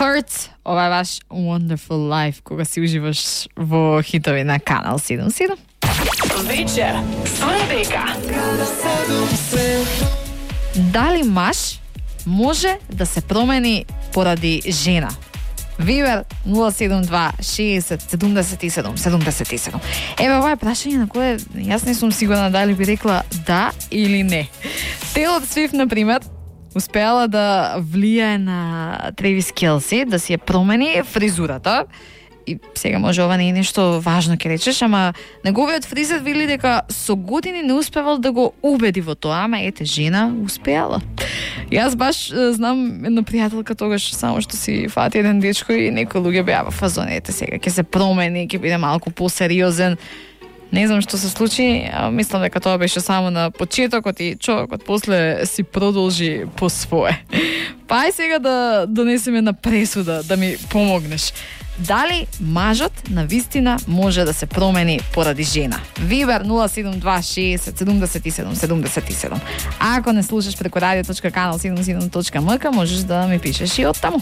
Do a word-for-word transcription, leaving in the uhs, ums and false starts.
Hurt, ова е ваш Wonderful Life, кога си уживаш во хитови на Канал седумдесет и седум. Вечер со Ребека. Дали маж може да се промени поради жена? Вибер нула седум два шесет седумдесет и седум седумдесет и седум. Еве, ова е прашање на кое јас не сум сигурна дали би рекла да или не. Тейлор Свифт, например, успеала да влијае на Тревис Келси, да си ја промени фризурата. И сега може ова не е нешто важно, ќе речеш, ама неговиот фризер вели дека со години не успевал да го убеди во тоа, ама ете, жена успеала. Јас баш знам една пријателка тогаш само што си фати еден дечко и некои луѓе беа во фазон, ете сега ќе се промени, ќе биде малку посериозен. Не знам што се случи, а мислам дека тоа беше само на почетокот и човекот после си продолжи по свое. Па ај сега да донесеме на пресуда, да ми помогнеш. Дали мажот на вистина може да се промени поради жена? Вибер нула седум два шесет седумдесет и седум седумдесет и седум. А ако не слушаш преку радио точка канал седумдесет и седум точка ем ка, можеш да ми пишеш и од таму.